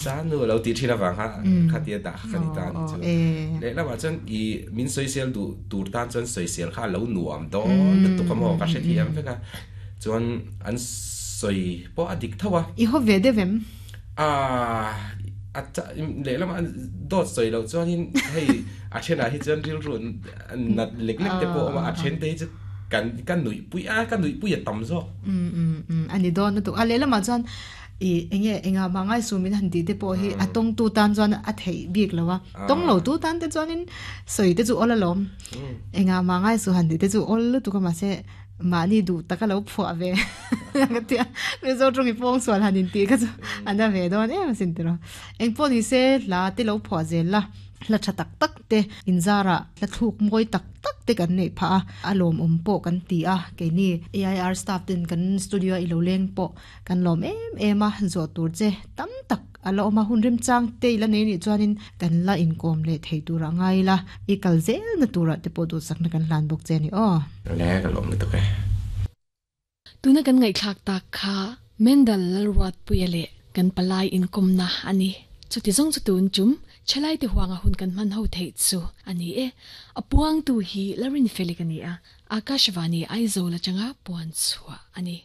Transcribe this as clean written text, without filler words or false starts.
Chanu a lo tih thin avang kha khatia dah kha ka ni ta a nih chu. Lehlamah chuan i min sawisel duh tur tan chuan sawisel kha a lo nuam dawn lutuk a maw ka hrethiam vek a, chuan an sawi pawh a dik tho a. I haw ve deuh em? Aaa a lehlamah dawt sawi loh chuanin hei a thenah hi chuan rilru nat lek lek te pawh a awm a, a then te hi chu kan ka nuihpui a, ka nuihpui a tam zawk. Umm umm umm a ni dawn lutuk a, lehlamah chuan I enge engah mah ngai su min han tih te pawh hi a tawng tu tan chuan a theih bik lo a, tawng lo tu tan te chuanin sawi te chu awl alawm. Engah mah ngai su han tih te chu awl lutuk a mahse mahni duh taka lo phuah ve ka tia Mizo tawng i pawng sual han intih kha chu a na ve dawn em asin tiraw. Engpawh ni se hla te lo phuah zel la. Hla tha tak tak te inzarah hla thluk mawi tak tak te kan neih phah a, a lawmawm pawh kan ti a, keini AIR staff ten kan studio a i lo leng pawh kan lawm em em a, zawh tur che tam tak a la awm a, hun remchang te i la nei nih chuanin kan la inkawm leh thei tur a ngai ila, i kal zelna turah te pawh duhsakna kan hlan bawk che a ni aw. Le ka lawm lutuk e. Tuna kan ngaihthlak tak kha Mendal Lalruatpuia leh kan palai inkawmna a ni. Chuti zawng chu tun chum Thalaite huanga hun kan hman ho theih chu a ni e. A puangtu hi Larin Felik a ni a, Akashvani Aizawl atanga puan chhuah a ni.